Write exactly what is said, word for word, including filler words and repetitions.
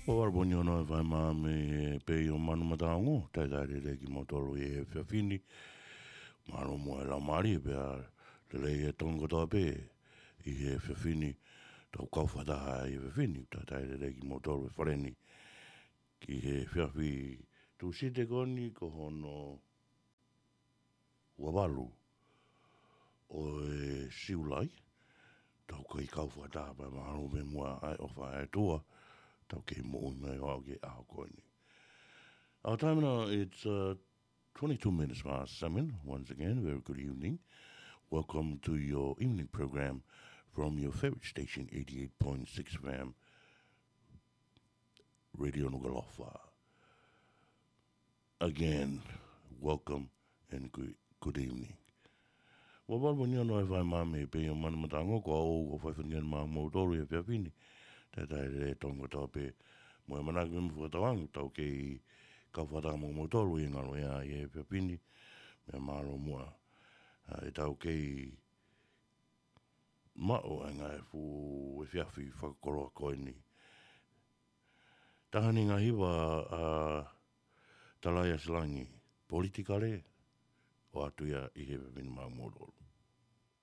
Ua valu poini ono F M mei he Pei ʻo Manu Mataongo, talitali lelei kimoutolu ʻi he efiafi ni. Mālō muʻa e laumālie pea lelei e Tonga kotoa pē ʻi he efiafi ni. Tau kau fakataha ʻi he efiafi ni, talitali lelei kimoutolu ʻi he fale ni. Ki he efiafi Tūsite ko eni ko hono ua valu ʻo e Siulai, tau kei kau fakataha pea mālō muʻa e ʻofa ʻa e ʻOtua, tau kei moʻui mai ʻo aʻu ki he ʻaho ko eni. Our time now, it's, uh, twenty-two minutes past seven. Once again, very good evening. Welcome to your evening program from your favorite station, eighty-eight point six F M, Radio Nukuʻalofa. Again, welcome and good, good evening. Ua valu poini ono F M mei he Pei ʻo Manu Mataongo, ko au ʻoku fai fatongia maʻamoutolu ʻi he efiafi ni. Talitali lelei e Tonga kotoa pē, mo e ʻamanaki mo e fakatauange tau kei kau fakataha maʻamoutolu ʻi he ngalo ia ʻi he efiafi ni. Meʻa mālō muʻa, ʻa, ʻetau kei maʻu ʻa e ngaahi fuʻu efiafi fakakoloa ko eni. Taha eni e ngaahi hiva ʻa Talaiasilangi, politikale, ʻoatu ia ʻi he efiafi ni maʻamoutolu.